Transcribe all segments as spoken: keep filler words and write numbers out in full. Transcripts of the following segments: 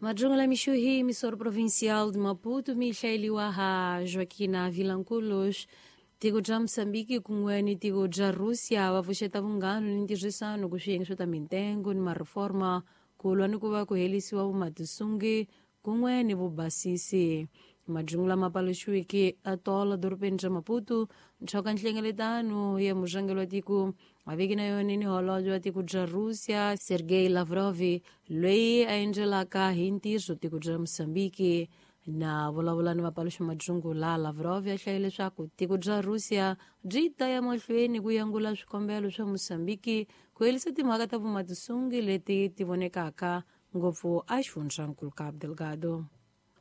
Madjungula Mixuhi, emissora provincial de Maputo, mihlaeliwa ha Joaquina Vilanculos. Tiko bya Moçambique kun'we ni tiko bya Russia va pfuxeta vunghana ni ntirhisano ku swiyenge swo ta mintengo ni mareforma ku lwa ni ku va ku helisiwa vumatisungi kun'we ni vubasisi. Majungula ma paluxiweke atola dorobeni ra Maputo ntshoka nhlengeletano ya murhangeri wa tiko a veki na yona ni holobye wa tiko bya Russia Sergei Lavrov loyi a endzelaka hi ntirho tiko bya Moçambique. Na vulavula ni vapaluxi majungula, Lavrov a hlaye leswaku tiko bya Russia byi ta ya mahlweni ku yangula swikombelo swa Moçambique ku herisa timhaka ta vumatisungi leti ti vonekaka ngopfu exifundzhankulu Cabo Delgado.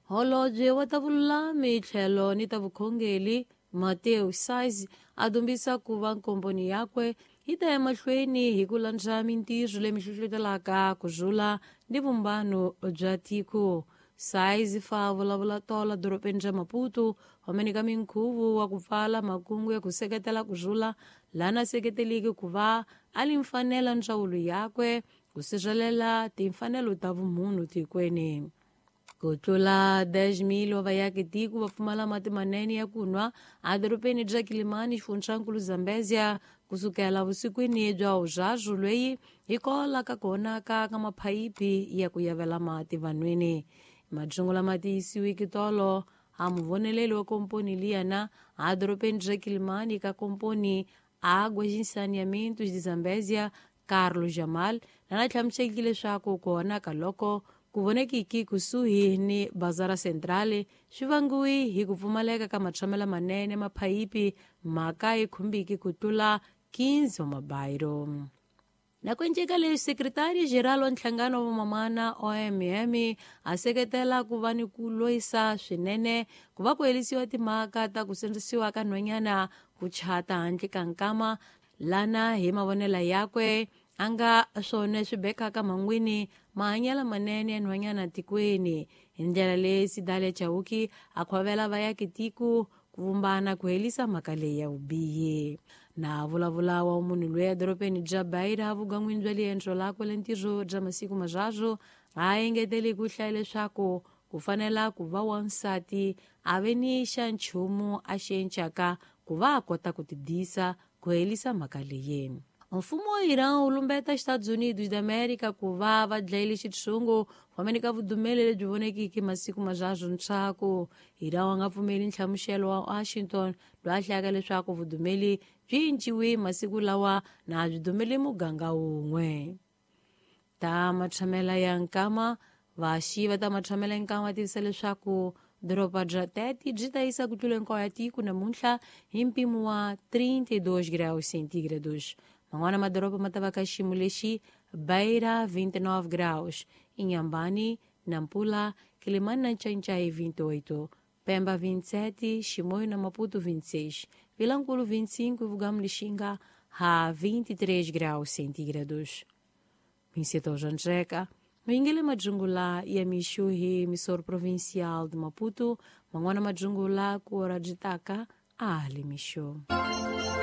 Holobye wa ta vululami tlhelo ni ta vukhongeri Mateo Size a dumbisa ku va nkomponi yakwe yi ta ya mahlweni hi ku landza mintirho leyi hlohlotelaka ku rhula ni vumbano bya tiko. Size fa vulavula tola dorobeni ra Maputo wamene ka minkhuvo wa ku pfala makungu ya ku seketela ku rhula lana seketeliki ku va a li mfanela ndzawulo yakwe ku sirhelela timfanelo ta vumunhu tikweni. Ku tlula dez mil wa vayaki tiko va pfumala mati manene ya ku nwa edorobeni bya Kilimani xifundzankulu Zambezia kusukela vusikwini bya vuraru loyi hi kola ka ku onhaka ka maphayiphi ya ku yavela mati vanhwini. Majungu lama tiyisiweke tolo a muvoneleli wa komponi liyana edorobeni bya Kilimani ka komponi Águas e Saneamentos de Zambezia Carlos Jamal lana hlamuseleke leswaku ku onhaka loko ku vonekiki kusuhi ni Bazara Centrale swi vangiwe hi ku pfumaleka ka matshamelo manene maphayiphi mhaka yi khumbiki ku tlula quinze wa mabayiro. Na ku enceka leswi sekretari geral wa nhlangano wa vamamana O M M a seketela ku va ni ku loyisa swinene ku va ku herisiwa timhaka ta ku sindzisiwa ka nhwanyana ku chata handle ka nkama lana hi mavonelo yakwe a nga swona swi bekaka mangwini mahanyelo manene ya nhwanyana tikweni. Hi ndlela leyi Sidalia Chauki a khwavela vayaki tiko ku vumbana ku herisa mhaka leyi ya vubihi. Na vulavula wa munhu loyi edorobeni bya Beira vugan'wini bya liendzo lakwe la ntirho bya masiku mararu a engetele ku hlaya leswaku ku fanela ku va wansati a ve ni xa nchumu a xi encaka ku va a kota ku tidisa ku herisa mhaka leyi. Mfumo wa Iran wu lumbeta Estados Unidos da América ku va va dlayile xitshungu fameni ka vudumeli lebyi vonekiki masiku mararu ntshaku. Iran wa nga pfumeli nhlamuselo wa Washington loyi a hlayaka leswaku vudumeli byi cinciwe masiku lawa na byi dumeli muganga wun'we. Ta matshamela ya nkama vaxi va ta matshamela ya nkama tivisa leswaku doroba bya Tete byi ta yisa ku tlula hinkwayo ya tiko namuntlha hi mpimo wa trinta e dois graus centígrados. Man'wana madoroba ma ta va ka xiyimo lexi Beira vinte e nove graus, Inhambane, Nampula, Quelimane na Nchainchai vinte e oito, Pemba vinte e sete, Chimoio na Maputo vinte e seis, Vilanculo vinte e cinco e Vugamu Lixinga a vinte e três graus centígrados. Minseto Janjeka, Mingele Majungula ya Mixuhi, emissor provincial de Maputo, man'wana majungula ku ora byi taka a ali mixo.